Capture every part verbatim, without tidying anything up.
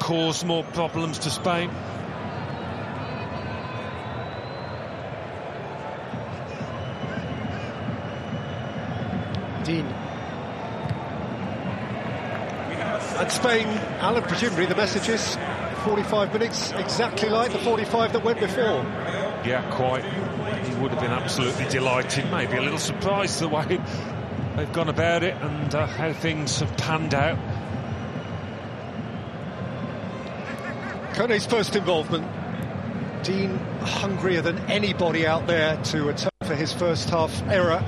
cause more problems to Spain. Dean. And Spain, Alan, presumably the message is forty-five minutes, exactly like the forty-five that went before. Yeah, quite. He would have been absolutely delighted, maybe a little surprised the way they've gone about it and, uh, how things have panned out. Kone's first involvement. Dean hungrier than anybody out there to atone for his first half error.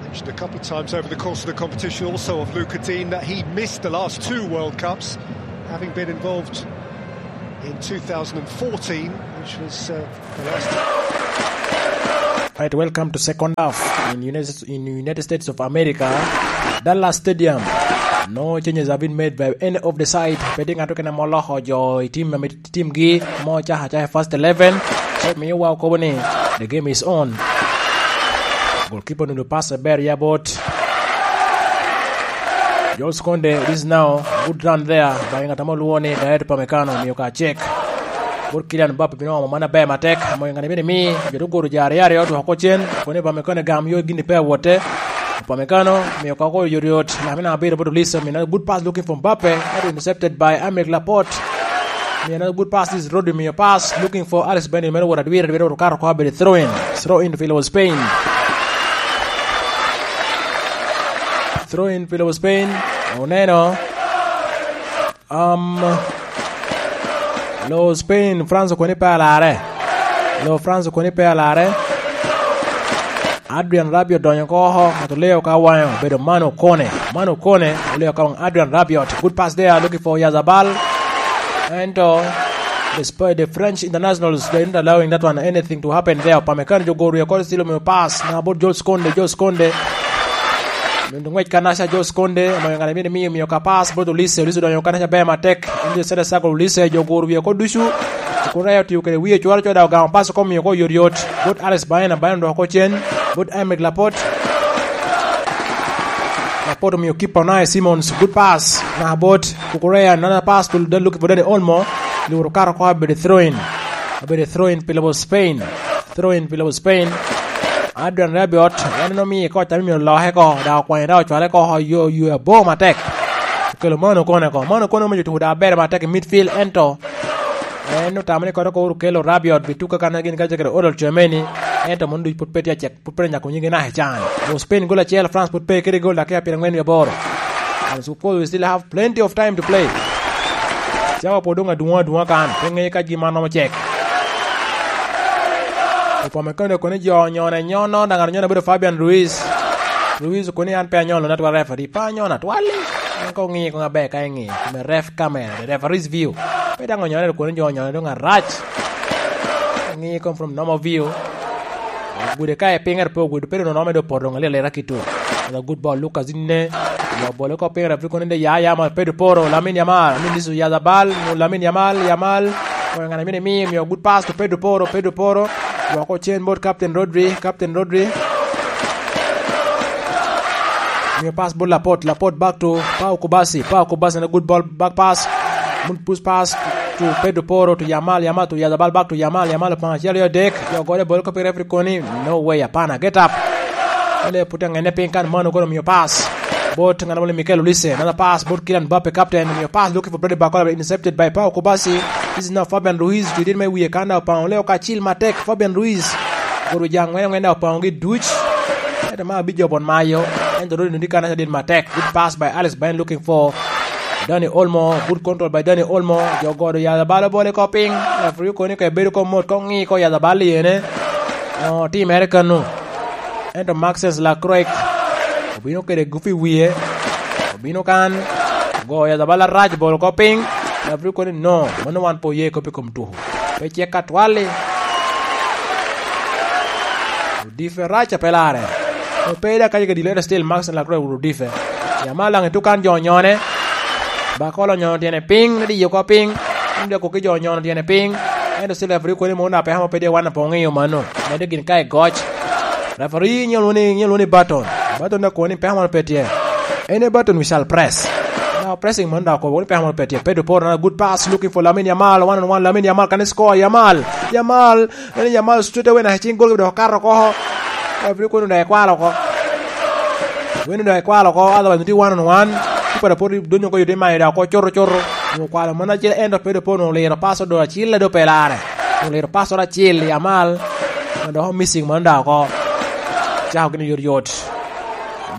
Mentioned a couple of times over the course of the competition also of Lucas Digne that he missed the last two World Cups, having been involved in two thousand fourteen, which was, uh, the last. Right, welcome to second half in United, in United States of America, Dallas Stadium. No changes have been made by any of the side. Pe tye ŋat keken ame oloko jo i tim ame timgi, mo caka acaka first eleven. So miyo wa okobo ni the game is on. Goalkeeper onudo pass aber ya bot Jules Kounde. This is now good run there by ŋat ame olwoŋo ni Dayot Upamecano, miyo ka check. Bot Kylian Mbappe bino omo man aber matek, omoyo ŋat bene mi jo te guro jo aryo aryo otwoko cen, kono Upamecano gam yo gin pe awotte. Upamecano miyo ka oko yot yot, Lamine Abiro bot Olise, miyo another good pass looking for Mbappe, that was intercepted by Aymeric Laporte. Miyo another good pass is Rodri, miyo pass looking for Alex Bendit, meno wot adwir, adwir, wot okato oko abedo throw in. Throw in to favor Spain. Throw in favor Spain. Oneno. Um, lo Spain, France koni pe alarre. Lo France koni pe alarre. Adrian Rabiot odonyo oko, ŋat oleo ka waŋe obedo Manu Kone. Manu Kone oleo ka waŋ Adrian Rabiot. Good pass there, looking for Yazabal. Ento, the Sp-, the French internationals, they're not allowing that one, anything to happen there. Upamecano jo goro oko, still omiyo pass. Na bot Jules Kounde, Jules Kounde. Miyo ngwec kanaca Jules Kounde, omoyo ŋat a myero miyo, miyo ka pass, bot Olise, Olise odonyo kanaca ber matek. Ento center circle Olise, jo goro wie oko ducu. Kureya otiyo kede wie cwalo cwalo dok ogamo pass oko omiyo oko yot yot. Bot Alex Baena, Baena odoko oko cen. Bot Aymeric Laporte. Laporte omiyo keeper Unai Simons. Good pass. Na bot Kukureya, another pass to the look for Dani Olmo. Luro kato oko abedo throw in. Abedo throw in pi lobo Spain. Throw in pi lobo Spain. Adrian Rabiot, en en omiyo oko, tam omiyo loke oko, dok okwanyo dok ocwale oko, yo, yo abor matek. Okelo Manu Kone oko. Manu Kone omiyo tuko dok aber matek i midfield, ento en otamo ni koto oko uru kelo Rabiot, bi tuka kan gin ka jagere Odol Chomeni, ento mon duc put pe tye acek, put pe nyako nyigi naka i can. Wo Spain gol acel, France put pe kede gol dakika pyerangwen wie aboro. And suppose we still have plenty of time to play. Cawa pwod dong adwoŋ adwoŋa kan, pe ŋeyo ka gin man romo cek. Upamecano koni jo onyone nyono, daŋ anyona bedo Fabian Ruiz. Ruiz koni an pe anyono, na twal referee, pe anyono atwali. En ko ŋiyo koŋ aber ka iŋiyo, kome ref camera, the referee's view. Pe daŋ onyone koni jo onyone dong arac. Ŋiyo koŋ from normal view. Ogude ka i piny, ento pe ogudo, pe doŋ nome doŋ poto doŋ alyel aleta kito. Ana good ball, Lucas Digne. Yo bolo ko piny, referee kono inde ya, ya, ma Pedro Porro, Lamine Yamal, Lamine Disu, Yazabal, Lamine Yamal, Yamal. Oyo ŋana mine mi, miyo good pass to Pedro Porro, Pedro Porro. Wako cen bot Captain Rodri, Captain Rodri. Miyo pass bot Laporte, Laporte back to Pau Kubasi, Pau Kubasi na good ball, back pass. Mun push pass to Pedro Porro to Yamal, Yamal to Yazabal, back to Yamal, Yamal opanga acel aryo adek. Yo gole bolo ko pi referee koni, no way, apana, get up. Ole put angene piny kan, Manu kono miyo pass. Bot ŋat moni Mikel Olise, another pass, bot Kylian Mbappe, captain, miyo pass, looking for Brady Barcola, intercepted by Pau Kubasi. This is now Fabian Ruiz, to did me wiye kan da opanga, ole okacil matek, Fabian Ruiz. Goro ja ŋwen ŋwen da opanga gi duc. Ento ma abijo bon mayo, ento Rodri nudi kan da dit matek. Good pass by Alex Baena looking for Dani Olmo, good control by Dani Olmo. Jo godo ya balo bole ko piny. Referee koni ka ebedo ko mot, ko ŋi ko ya bal yene. O, timere kanu. Ento Maxence Lacroix obino kede gupi wiye. Obino kan. Go ya bal arac bolo ko piny. Referee koni no, mano wan po ye ko pi kom tuku. Pe cek atwali. Odife rac a pe lare. Pe da kaca kedi lere still Maxence Lacroix odife. Yamal daŋ etukan jo onyone. Bakolo onyono tyene piny, ni diyo oko piny. Ento dok koki jo onyono tyene piny. Ento still referee koni mo na peka mo pe tye wan apo ŋiyo mano. Mede gin ka i goc. Referee nyel woni, nyel woni Baton. Baton da koni peka mo pe tye. Any button we shall press. Now pressing man dok okobo ni peko moro pe tye. Pedro Porro, another good pass, looking for Lamine Yamal, one on one, Lamine Yamal, can he score? Yamal, Yamal, Lamine Yamal straight away na cing gol dok okato oko. Referee kono dok ekwalo oko. Weno dok ekwalo oko, otherwise tye one on one. Kipa dok pwod donyo oko, yute mayo dok oko coto coto. Onyo kwalo man acel, ento Pedro Porro onyo liro pass odo acil, ado pe lare. Onyo liro pass odo acil, Yamal. Dok missing man dok oko. Cako gini yot yot.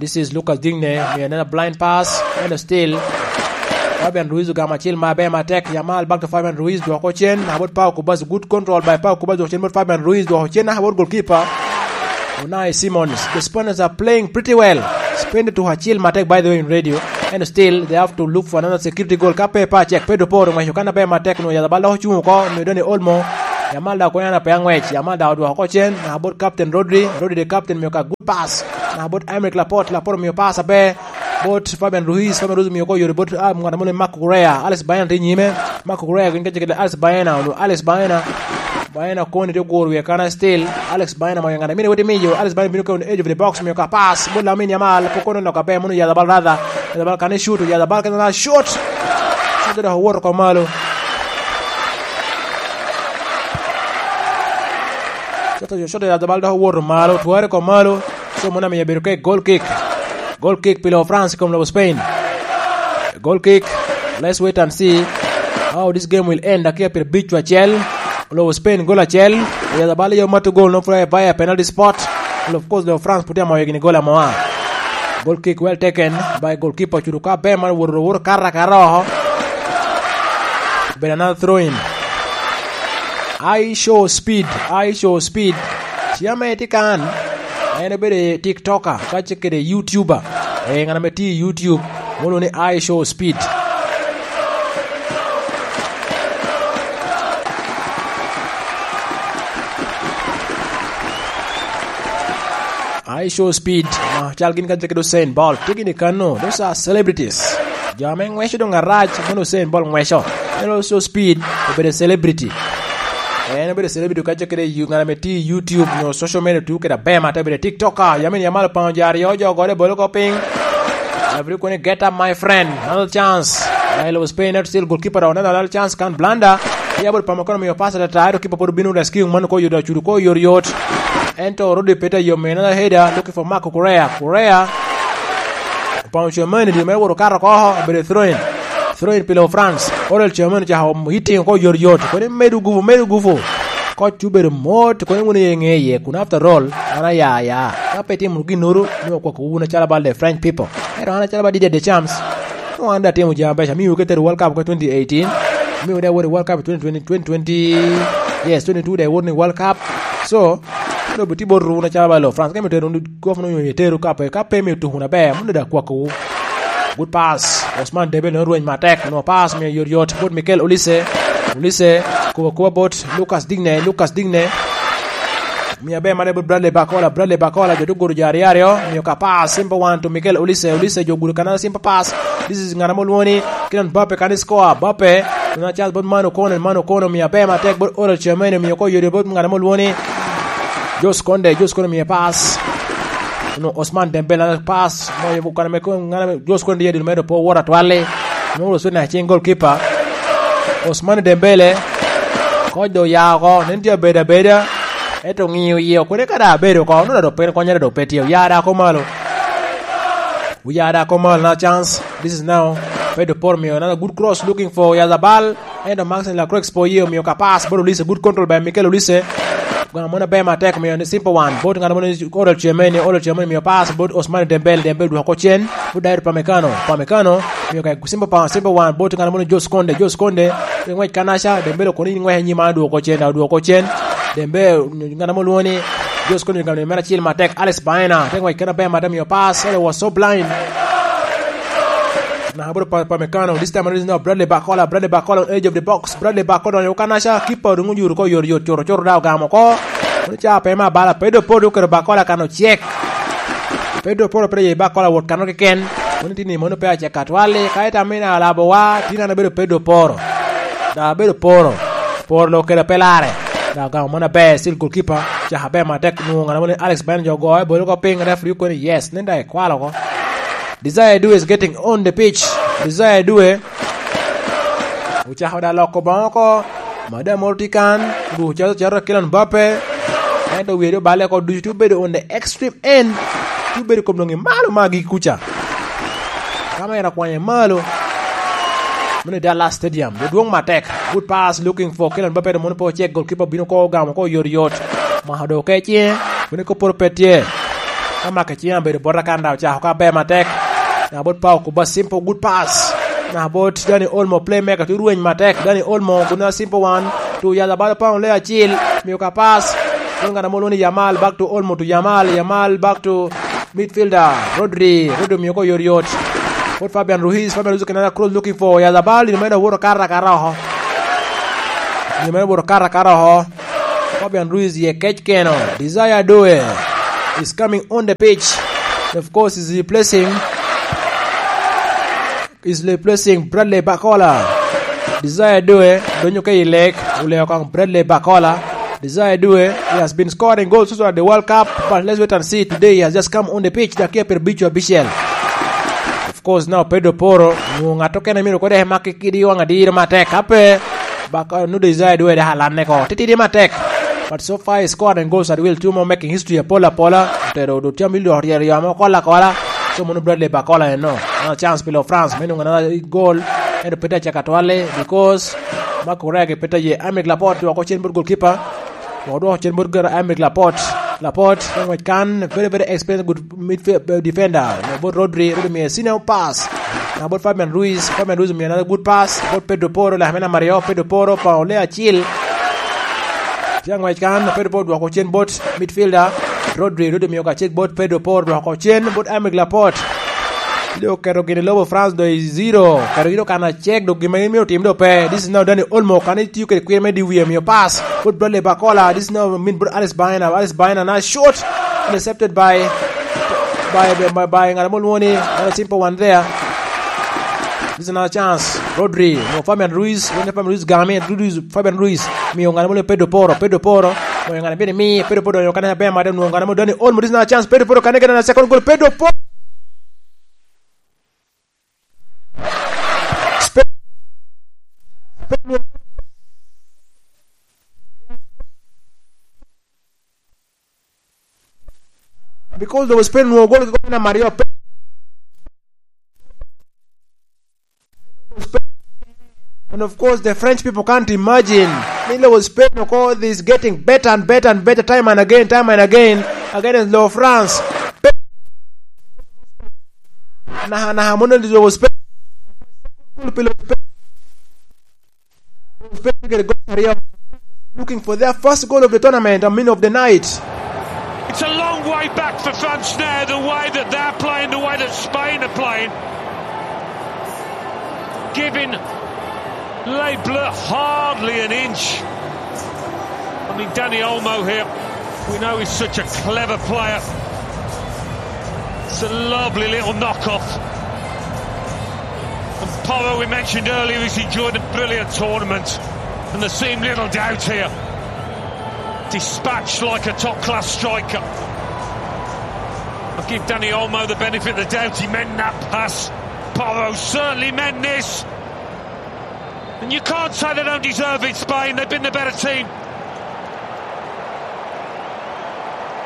This is Lucas Digne, me another blind pass, and still Fabian Ruiz ogamo acel maber matek. Yamal back to Fabian Ruiz, dwoko cen, about Pau Kubas, good control by Pau Kubas, dwoko cen about Fabian Ruiz, dwoko cen about goalkeeper Unai Simons. The Spaniards are playing pretty well. Spend to acel matek, by the way, in radio, and still they have to look for another security goal. Ka pe pa check, Pedro Porro ng'weco kan aber matek, nwoyo Yazabal dok ocung oko, nwoyo Dani Olmo. Yamal dok okwena pe ang'wec, Yamal dok odwoko oko cen, about Captain Rodri, Rodri the captain, mio ka pass. Na bot Aymeric Laporte, Laporte omio pass aber. Bot Fabian Ruiz, Fabian Ruiz omio ko yore bot, ah, ngat mo ni Marco Correa. Alex Baena tye i nyime. Marco Correa gin kece kede Alex Baena, onyo Alex Baena. Baena koni tye oguro wie kana still. Alex Baena moyo ngat amine weti miyo. Alex Baena bino ka on edge of the box, omio ka pass. Bot Lamine Yamal, pok kono nok aber, mono Yazabal rather. Yazabal kane shoot, Yazabal kene na shoot. Shoot dok owoto oko malo. Shoot, shoot Yazabal dok owoto malo, tware oko malo. So, mano amiyo bedo ka i goal kick. Goal kick pi lobo France i kom lobo Spain. Goal kick, let's wait and see how this game will end. Dakika pyerabic acel, lobo Spain goal acel. Oyadho bal yo mato goal, no fly by a penalty spot. Well, of course, lobo France pwod tye amoyo gini goal amoa. Goal kick well taken by goalkeeper, ocudo ka ber man, owoto, owoto kara kara oko. Obedo another throw in. I show speed, I show speed. Ci ame tye kan, en obedo i TikToker, ka ce kede YouTuber. Eh, ngat ame tye i YouTube, mono ni I show speed. I show speed, ah, cal gin ka ce kede Usain Bolt. Tye gini kano, those are celebrities. Jo ame ngweco dong arac, mono Usain Bolt ngweco. En also speed, obedo celebrity. En obedo celebrity ka ce kede yu-, ngat ame tye i YouTube, nyo social media, tuko kede aber, mate obedo TikToker, yamin Yamal opango jo aryo, jo ogore bolo ko piny. Every kone, "Get up, my friend. Another chance." Raila was paying out still, goalkeeper, another, another chance, kan blunder. Ya bot pamo kono miyo pass ata, ero kipa pwod obino rescue man ko yot, acudo ko yot yot. Ento Rudi Peta yo me another header, looking for Marco Correa. Correa. Opango Tchouameni, dwe mere wot okato oko, obedo throw in. Throw in pi lobo France. Aurel Tchouameni ocako hitting oko yot yot. Koni medo gupu, medo gupu. Koc obedo mot, koni wun iye ŋe iye, kun after all, an aya aya. Ka pe itimo ginnoro, nwoŋo okwako wun acalo bal the French people. Ento an acalo bal Didier Deschamps, nwoŋo an daŋ atimo jami abeco. Amiwu ka itero World Cup ka twenty eighteen. Amiwu daŋ iwot i World Cup twenty twenty, twenty twenty, yes, twenty-two daŋ iwot ni World Cup. So, Kadi obitye bot wun acalo ba lo France, ka imito tero wun kop no, onyo itero ka pe, ka pe imito tuko wun aber, mom dada kwako wu. Good pass. Ousmane Dembélé nwoŋo rweny matek, nwoŋo pass miyo yot yot bot Mikel Olise. Olise, kubo akuba bot Lucas Digne, Lucas Digne. Miyo aber mare bot Bradley Barcola, Bradley Barcola, jo dok guro jo aryo aryo, miyo ka pass, simple one to Mikel Olise, Olise jo gudo kanal, simple pass. This is ngat ame olwoŋo ni Kylian Mbappe kan score, Mbappe. Nwoŋo chance bot Manu Kono, Manu Kono miyo aber matek bot Aurel Tchouameni, miyo ko yodi bot ngat ame olwoŋo ni Jules Kounde, Jules Kounde miyo pass. Nwoŋo Ousmane Dembélé na pass, moyo bukana me ko, ngat ame Jules Kounde yadi medo po wora twali. Nwoŋo Jules Kounde na cing goalkeeper. Ousmane Dembélé, koc do oya oko, nen tye abedo abeda. Ento ŋiyo iye, okone ka da abedo oko, nwoŋo da dok pe konyere dok pe tye, oya da ko malo. Oya da ko malo, another chance. This is now Pedro Porro miyo another good cross looking for Yazabal. Ento Maxence Lacroix po ye omiyo ka pass bot Olise, good control by Mikel Olise. Gamo moni aber matek omiyo ni simple one. Bot ngat moni Aurel Tchouameni, Aurel Tchouameni omiyo pass bot Ousmane Dembélé, Dembélé dwoko cen. Bot Dayot Upamecano, Upamecano omiyo ka simple pa-, simple one. Bot ngat moni Jules Kounde, Jules Kounde. Ngwec kanaca, Dembélé kono in ngwec anyim, an adwoko cen, adwoko cen. Dembélé, ngat moni olwoŋo ni Jules Kounde gamo mere acel matek. Alex Baena, te ngwec kene aber matek, miyo pass, and it was so blind. Na bot Pa-, Upamecano, this time around is now Bradley Barcola, Bradley Barcola on edge of the box, Bradley Barcola onyo kanaca, keeper dong oyuro ko yot yot, coro coro da ogamo ko. Mano ca pe ma bala, Pedro Porro oketo Barcola kano cek. Pedro Porro pe ye Barcola wot kano keken. Mano tini mano pe acek atwali, ka ita mina alabo wa, tina na bedo Pedro Porro. Da bedo Porro. Porro lo kede pe lare. Da ogamo mano aber, still goalkeeper, caka aber matek, nwoŋo ngat moni Alex Baena jo ogoyo, bolo ko piny, referee okoni yes, nen da ekwalo ko. Desire Due is getting on the pitch. Desire Due ocako da loko boŋo oko. Madam moro tye kan, gucalo caro Kylian Mbappe. Ento wiye dong oballe oko ducu, tye obedo on the extreme end. Tye obedo i kom doŋ i malo magi kuca. Ka ma en akwanye malo. Meno i Dallas Stadium. Dwong matek. Good pass looking for Kylian Mbappe, mono pe ocek, goalkeeper bino ko ogamo ko yot yot. Mako do ke cinge. Bino ko poro pe tye. Ka make cinge abedo bota kan da ocako ka ber matek. Na bot Pau Kuba, simple good pass. Na bot Dani Olmo, playmaker, tu rweny matek. Dani Olmo, guna simple one. Tu Yazabal, Pau le acil. Miyo ka pass. Kun ngana mo lwongo ni Yamal, back to Olmo to Yamal. Yamal back to midfielder, Rodri. Rodri miyo ko yot yot. Bot Fabian Ruiz. Fabian Ruiz kena cross looking for Yazabal. Ino meno woto kara kara oho. Ino meno woto kara kara oho. Fabian Ruiz ye kec keno. Desire Due is coming on the pitch. Of course, is replacing, is replacing Bradley Bacola. Desire Due donyo ke i lek, oleo kong Bradley Bacola. Desire Due, he has been scoring goals also at the World Cup, but let's wait and see. Today he has just come on the pitch, dakia pyero abic abicel. Of course, now Pedro Porro, nwoŋo ŋat okene myero kode ema kidi waŋ adiro matek. Ka pe, Bak, uh, nu Desire Due dek alanne ko. Titidi matek. But so far he scored and goals at will too, mo making history apola apola. Otero do tye amil dok ryero yo ame okola akola. So mono Bradley Bacola eno. Another chance pi lo France me nwoŋo another goal. Ento pe te acaka twale because Marc Cucurella pe te ye. Aymeric Laporte dwoko cen bot goalkeeper. Odwoko cen bot gar Aymeric Laporte. Laporte, ngwec kan, very, very experienced, good midfield, uh, defender. Bot Rodri, Rodri miye senior pass. Na bot Fabian Ruiz, Fabian Ruiz miye another good pass. Bot Pedro Porro, lak me namba aryo, Pedro Porro, Paul le acil. Tye ngwec kan, Pedro Porro dwoko cen bot midfielder. Rodri, Rodri miyo ka cek bot Pedro Porro, dwoko cen bot Aymeric Laporte. Dok oketo gini lobo France do i zero. Oketo gini kan acek, dok gin ma gin myero otim do pe. This is now Dani Olmo, kan itiyo kede kwir me di wiye, miyo pass. Bot Bradley Bacola. This is now min bot Alex Baena. Alex Baena na shoot. Intercepted by, by, by, by, by, ng'at mo lwongo ni, uh, simple one there. This is another chance. Rodri, no, Fabian Ruiz. When Fabian Ruiz game, Ruiz, Fabian Ruiz. Miyo ng'at mo lwongo Pedro Porro. Pedro Porro. Miyo ng'at mo lwongo Pedro Porro. Dani Olmo, this is another chance. Pedro Porro, can I get a second goal? Pedro Porro. Spain, Spain, because they were Spain, were going to Mario. And of course, the French people can't imagine. Milo was Spain, of course, is getting better and better and better time and again, time and again against Lo France. Naha, naha, mono Lo Spain. Looking for their first goal of the tournament, I mean of the night. It's a long way back for France now, the way that they're playing, the way that Spain are playing. Giving Les Bleus hardly an inch. I mean, Dani Olmo here, we know he's such a clever player. It's a lovely little knockoff. And Porro, we mentioned earlier, he's enjoyed a brilliant tournament. And there seemed little doubt here. Dispatched like a top-class striker. I'll give Dani Olmo the benefit of the doubt. He meant that pass. Porro certainly meant this. And you can't say they don't deserve it, Spain. They've been the better team.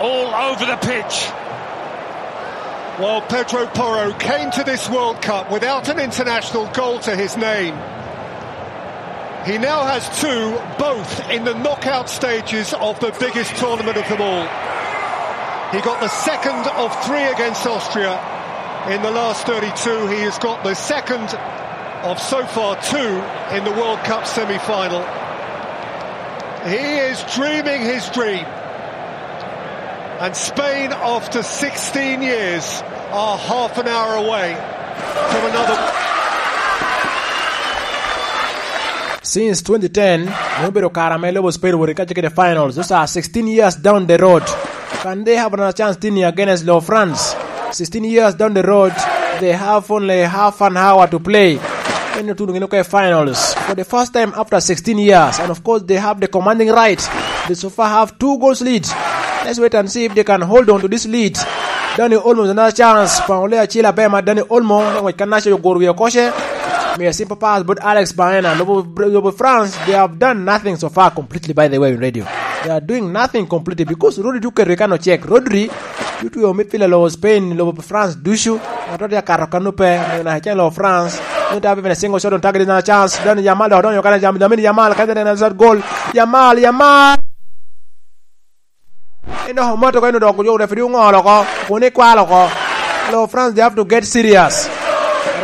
All over the pitch. Well, Pedro Porro came to this World Cup without an international goal to his name. He now has two, both in the knockout stages of the biggest tournament of them all. He got the second of three against Austria in the last thirty-two. He has got the second of so far two in the World Cup semi-final. He is dreaming his dream. And Spain, after sixteen years, are half an hour away from another. Since twenty ten, ne obedo kare ame lobo Spain wot i kacce kede finals. Those are sixteen years down the road. Can they have another chance tini against Lo France? Sixteen years down the road, they have only half an hour to play. Eno tuno gino ke finals. For the first time after sixteen years, and of course they have the commanding right. They so far have two goals lead. Let's wait and see if they can hold on to this lead. Dani Olmo, another chance. Paŋo le acil aber ma Dani Olmo, ngwec kan naca oguro wie okoce. Miyo simple pass but Alex Baena. Lobo, lobo France, they have done nothing so far completely, by the way, in radio. They are doing nothing completely because Rodri tye oketo i kan ocek. Rodri, you two midfielder lobo Spain, lobo France ducu. Ngato tye akato kan ope, na acel lobo France. Nyo tabi bene single shot on target, another chance. Dani Yamal dok donyo kan Yamal, Lamine Yamal, kan another shot goal. Yamal, Yamal. Eno moto ko eno dok jo referee oŋolo oko, kun ikwalo oko. Lo France, they have to get serious.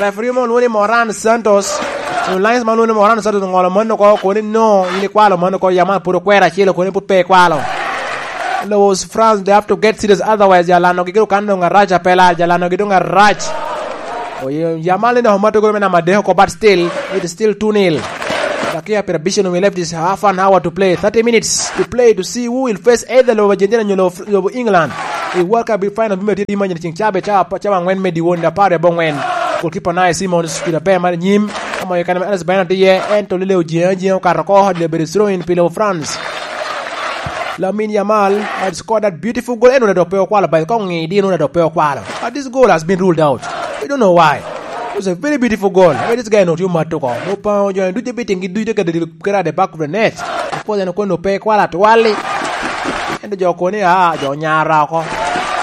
Referee mo lwongo ni Moran Santos. Kun lines ma lwongo ni Moran Santos oŋolo mano oko, kun no, in ikwalo mano oko, Yamal pud okwero acel, kun pud pe ikwalo. Lo France, they have to get serious, otherwise, jalano gi giro kan dong arac apela, jalano gi dong arac. Oye, Yamal ni dok omato gol me namba adek oko, but still, it is still two nil. Dakia pira bice no, we left is half an hour to play, thirty minutes to play to see who will face either lobo Argentina nyo lobo, lobo England. I World Cup final bime tye imanyini cing cabe ca, cabe angwen me diwon da par abongwen. Goalkeeper Unai Simons, kida pe mar nyim. Amo i kaname Alex Baena tye, en to lele ojiŋ ajiŋa okato oko, hot le bedo throw in pi lobo France. Lamine Yamal had scored that beautiful goal. En onongo pe okwalo, but kong ŋi di, en onongo pe okwalo. But this goal has been ruled out. We don't know why. It was a very beautiful goal. Where this guy not you matuko. Opa, jo ducu biting gi ducu ka dil kera at the back of the net. Of course, en kono pe kwala twali. Ento jo koni, ah, jo nyara oko.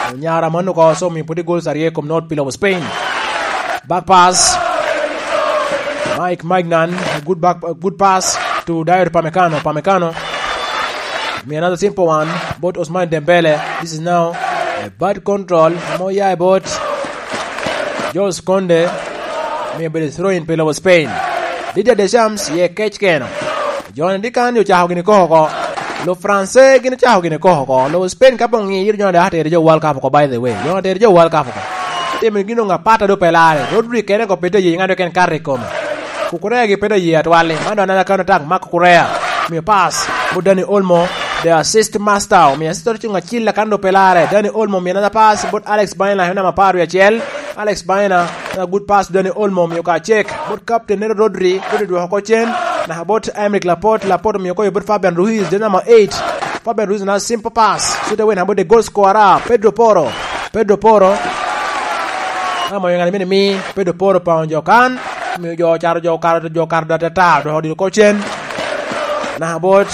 Jo nyara mano ko, so mi put goals arye kom not pillow Spain. Back pass. Mike Maignan, a good back, a good pass to Dayot Upamecano. Upamecano. Me another simple one, but Ousmane Dembele. This is now a bad control. Mo ya about Jules Kounde. Me bedo throw in pe lobo Spain. Didier Deschamps, ye kec keno. Joni dikan yo cako gini koko oko. Lo France gini cako gini koko oko. Lo Spain ka pong ŋiyo, joni da atere jo World Cup oko, by the way. Joni atere jo World Cup oko. Timo gino nga pata do pelare. Rodri kene ko pete ye, ŋado ken kare kome. Kukurea gi pete ye atwali. Mano another counter attack, Marc Cucurella. Miyo pass. But Dani Olmo, the assist master. Miyo assist to cunga cilla kan do pelare. Dani Olmo, miyo another pass. But Alex Baena, hena mapar wi acel. Alex Baena, a good pass to Dani Olmo, miyo ka check. But captain nero Rodri, Rodri dwoko ko cen. Na about Aymeric Laporte, Laporte miyo ko but Fabian Ruiz, the number eight. Fabian Ruiz na simple pass. So the win about the goal scorer, Pedro Porro. Pedro Porro. Amo yung alimini mi, Pedro Porro pa onjo kan. Miyo jo charo jo karo, jo karo da ta ta, do di ko cen. Na about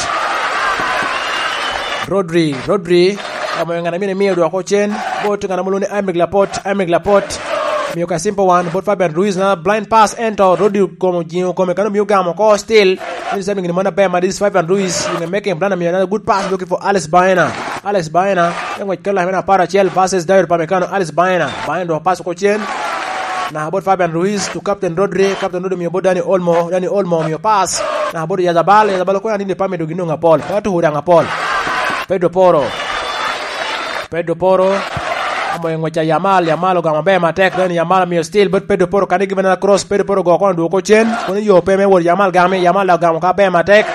Rodri, Rodri. Amo yung alimini mi, do ko cen. Bot ngana muluni Aymeric Laporte, Aymeric Laporte. Miyo ka simple one, but Fabian Ruiz na blind pass, ento Rodri komo jingo kome kano miyo gamo ko still. This is something in mana bema, this is Fabian Ruiz in making plan, miyo another good pass looking for Alex Baena. Alex Baena, en ngwec kela mena apar acel versus Dayot Upamecano, Alex Baena. Baena do pass ko cen. Na about Fabian Ruiz to Captain Rodri, Captain Rodri miyo bot Dani Olmo, Dani Olmo miyo pass. Na about Yazabal, Yazabal ko na dini pame do gino nga pol. Ka to hura nga pol. Pedro Porro. Pedro Porro. Amo i ngwec a Yamal, Yamal ogamo maber matek, then Yamal omiyo steal, but Pedro Porro kane given a cross, Pedro Porro go kono dwoko cen, kono yo pe me wot Yamal game, Yamal ogamo ka ber matek.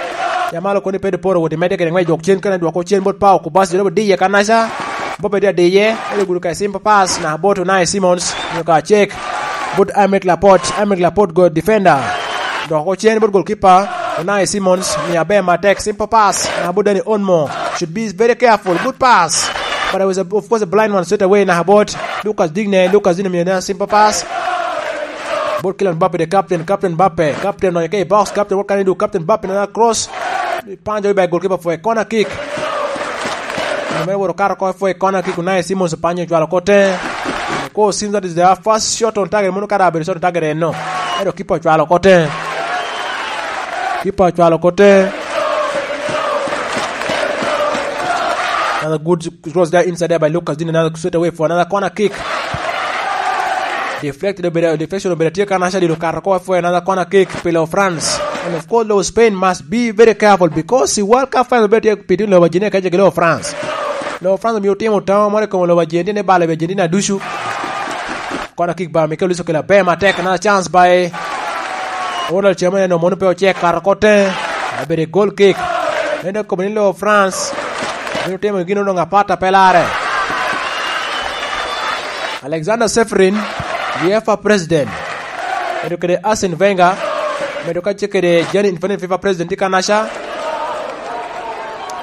Yamal okoni Pedro Porro wot i medde kede ngwec dwok cen, kene dwoko cen, but Pau Kubasi, jolo diye kanaca, bobe di adiye, elo gudo ka simple pass, na bot Unai Simons, nyo ka check, but Aymeric Laporte, Aymeric Laporte go defender. Dok ocen bot goalkeeper, Unai Simons, miyo aber matek, simple pass, na bot Dani Olmo. Should be very careful, good pass. But it was, a, of course, a blind one straight away, na bot Lucas Digne, Lucas Digne miyo na simple pass. Bot Kylian Mbappe, the captain, Captain Mbappe, captain on the box, captain, what can he do? Captain Mbappe, another cross. Panjo by goalkeeper for a corner kick. Numero woro karo ko for a corner kick, Unai Simons panyo cwalo kote. Ko seems that is the first shot on target, mono kara abedo shot on target eno. Ero kipa ocwalo kote. Kipa ocwalo kote. Another good cross there inside there by Lucas Digne. Another straight away for another corner kick. Deflected, obedo, deflection obedo tye ka naca dilo kato ko for another corner kick pi lo France. And of course, lo Spain must be very careful because the World Cup final obedo tye pi tye lo Argentina kece ki lo France. Lo France omiyo timo tamo moro i kom lo Argentina, balo Argentina ducu. Corner kick by Mikel Luis okelo aber matek, another chance by Ronald Chemene, no mono pe ocek, kato kote. Abedo goal kick. Ento kobo ni lo France bino timo gino dong apata pe lare. Alexander Seferin, UEFA president, medo kede Arsene Wenger, medo kacce kede Gianni Infantino, FIFA president, tye kanaca.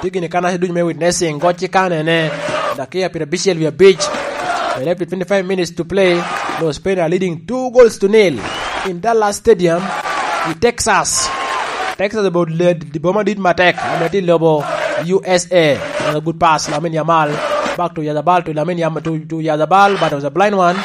Tye gini kanaca ducu me witnessing, gocci kanene. Dakia pira bicel wi abic. Left with twenty-five minutes to play. Los Spain are leading two goals to nil in Dallas Stadium in Texas. Texas about led the bomber did matek. Ameti lobo U S A. Another good pass, Lamine Yamal. Back to Yazabal, to Lamine Yamal, to, to Yazabal, but it was a blind one.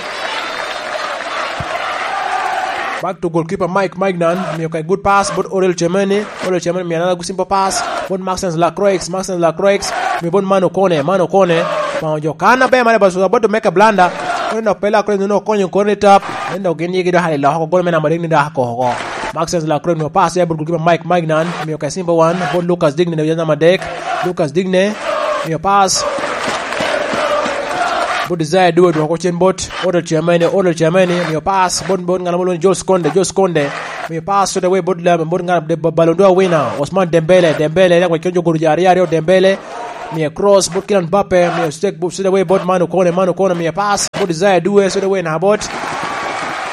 Back to goalkeeper Mike Maignan, miyo ka good pass, but Oriel Chemeni, Oriel Chemeni miyo another simple pass, but Maxence Lacroix, Maxence Lacroix, miyo but Manu Kone, Manu Kone, Manu jo kana be mane, but was about to make a blunder, but no pela Lacroix no konyo kore ni tap, endo gin yigi do hali loko, gol me namba ding ni do ako ko. Maxence Lacroix miyo pass ya but goalkeeper Mike Maignan, miyo ka simple one, but Lucas Digne ne namba dek, Lucas Digne, miyo pass, but Desire Due dwoko cen bot, Odo Chemeni, Odo Chemeni, miyo pass, bot, bot, ngano bot, Jules Konde, Jules Konde, miyo pass, straight away, bot, lem, bot, ngano, de, ba-, Ballon d'Or winner, Osman Dembele, Dembele, yak, wakion jo guru jari, aryo, Dembele, miyo cross, bot, Kylian Mbappe, miyo straight, bot, straight away, bot, Manu Kone, Manu Kone, miyo pass, bot, Desire Due, straight away, na bot,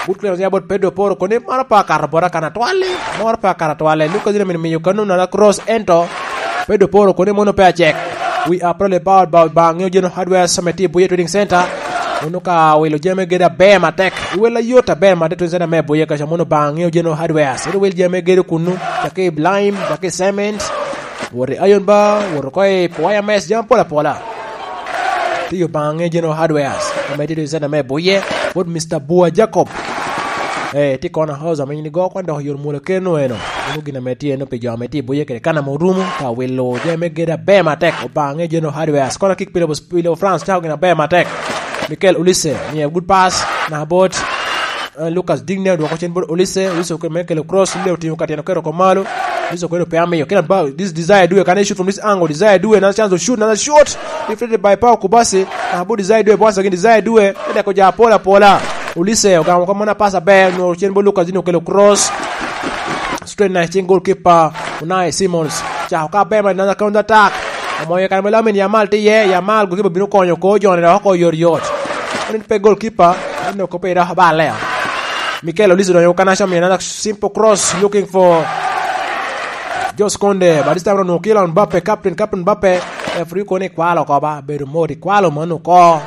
bot, Kylian, ya, bot, Pedro Porro, kone, mano pa kato bot, akana twali, moro pa kato twali, Lucas Digne miyo kano, na, cross, ento, Pedro Porro, kone, mono pe acek. We are proud about, about Bangeo General Hardware Summit i Buye Trading Center. Mono ka wilo jami gede aber matek. Iwela yot aber matek Trading Center me Buye kaca mono Bangeo General Hardware. Sero wil jami gede kunu. Caki lime, caki cement. Wot i iron bar, wot ko i wire mesh, jami pola pola. Tiyo Bangeo General Hardware. Ame tye Trading Center me Buye. Wot Mister Bua Jacob. Eh, ti kona house ame in igo kwan dok yor mula keno eno. Mono gin ame tye eno pi jo ame tye i Buye kede kan ame orumo. Ka wilo jami gede aber matek. Bangeo General Hardware. Kona kick pilo, pilo France. Cako gin aber matek. Mikel Olise, miye good pass, na bot, eh, Lucas Digne, odwoko cen bot Olise, Olise okelo, me kelo cross, le otingo ka tyen oketo oko malo, Olise oketo pe amiyo, kena ba, this Desire Due, can he shoot from this angle, Desire Due, another chance to shoot, another shot, deflected by Paul Kubasi, na bot Desire Due, once again, Desire Due, edeko ja apola apola, Olise, ogamo ka mona pass aber, onwongo cen bot Lucas Digne okelo cross, straight na i cing goalkeeper, Unai Simons, cako ka aber, another counter attack, Omoyo kan me Lamine Yamal tye iye, Yamal goalkeeper bino konyo ko jone dok oko yot yot. Nen pe goalkeeper, nen oko pe dok bal leo. Mikel Olise odonyo kan acom, another simple cross looking for Jos Konde, but this time around Kylian Mbappe, captain, captain Mbappe, referee kono ikwalo oko ba, bedo mot ikwalo mano oko.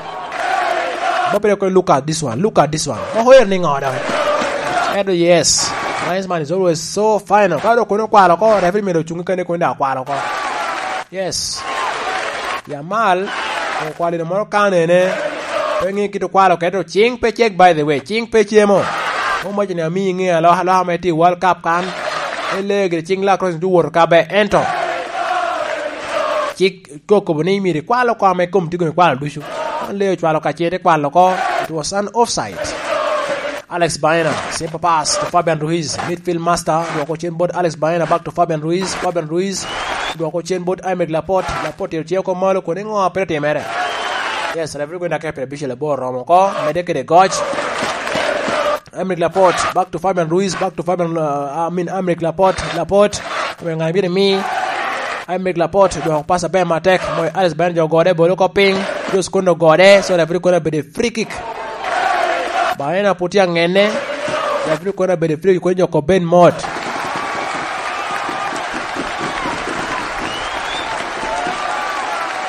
Mbappe dok kono look at this one, look at this one. Moko yer ni ŋo dok? Edo yes, nice man is always so final. Ka dok kono okwalo oko, referee myero ocungi kene kono dok okwalo oko. Yes. Yamal, okwalino moro kanene. Pe ŋe kit okwalo keto cing pe cek, by the way. Cing pe cemo. Omaco ni ami ŋe aloka aloka me ti World Cup kan. Ele gire cing la cross tu woto ka be ento. Cik kokobo ni myero ikwalo kome kom tigo ikwalo ducu. An le ocwalo ka cete kwalo ko. It was an offside. Alex Baena, simple pass to Fabian Ruiz, midfield master, dwoko cen bot Alex Baena, back to Fabian Ruiz, Fabian Ruiz, dwoko cen bot Aymeric Laporte, Laporte tero cen oko malo, koni ŋo a pire timere? Yes, referee gwenda ke pire bicel abor romo oko, mede kede goc. Aymeric Laporte, back to Fabian Ruiz, back to Fabian, uh, I mean, Aymeric Laporte, Laporte, we ŋa bino mi, Aymeric Laporte, dwoko pass aber matek, moyo Alex Baena jo gode, bolo oko piny, Jos Konde ogode, so referee kono obedo free kick. Baena pwod tye aŋenne. Referee kono abedo free, kono jo kop ben mot.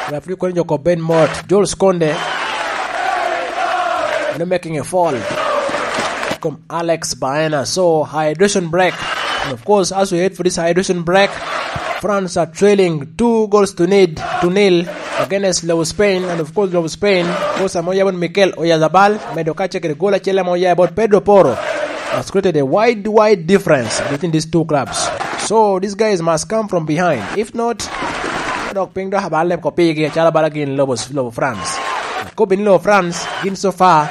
Referee kono jo kop ben mot. Jules Konde. No making a foul. Kom Alex Baena. So, hydration break. And of course, as we head for this hydration break, France are trailing two goals to need, to nil against Lobo Spain. And of course, Lobo Spain, coach amo yabon Mikel Oyarzabal, medo ka cekere goal acel amo ya about Pedro Porro, has created a wide, wide difference between these two clubs. So, these guys must come from behind. If not, dok piny dok abal leb ko pigi, acalo bala gin Lobo, Lobo France. Ko bini Lobo France, gin so far,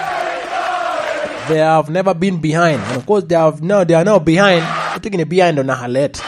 they have never been behind. And of course, they have no, they are now behind. Ito gini behind on a let.